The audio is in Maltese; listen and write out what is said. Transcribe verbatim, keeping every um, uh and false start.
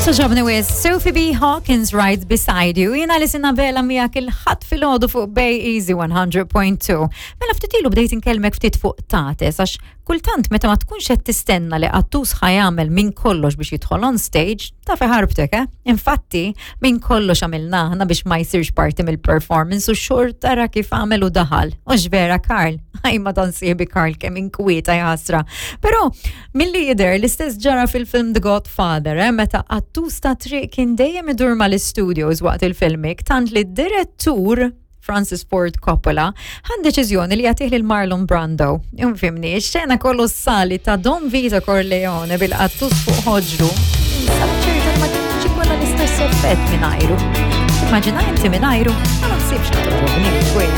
Togħġobni wisq, Sophie B. Hawkins right beside you. Jiena Alison Abela miegħek il-Ħadd filgħodu fuq Bay Easy one hundred point two. Mela ftit ilu bdejt inkellmek ftit fuq qtates, għax kultant meta ma tkunx qed tistenna li qattus ħa jagħmel minn kollox biex jidħol on stage, taf ħarbtek, eh? Infatti, minn kollox għamilna aħna biex ma jsirx parti mill-performance u xorta tara kif għamel u daħal. Ux vera, Karl? Għaj ma dan sieħbi Karl kemm inkwieta jaħasra. Però, milli jidher l-istess ġara fil-film The Godfather, eh? Meta qattus ta' triq kien dejjem idur mal-studios waqt il-filming, tant li d-direttur Francis Ford Coppola ħa deċiżjoni li jagħtih lil Marlon Brando. Ifhimni, xena kolossali ta' Don Vito Corleone bil-qattus fuq ħoġru. Insab ċerta ma kienx ikollha l-istess effett mingħajru. Immaġina inti mingħajru, ma naħsibx li togħġobni.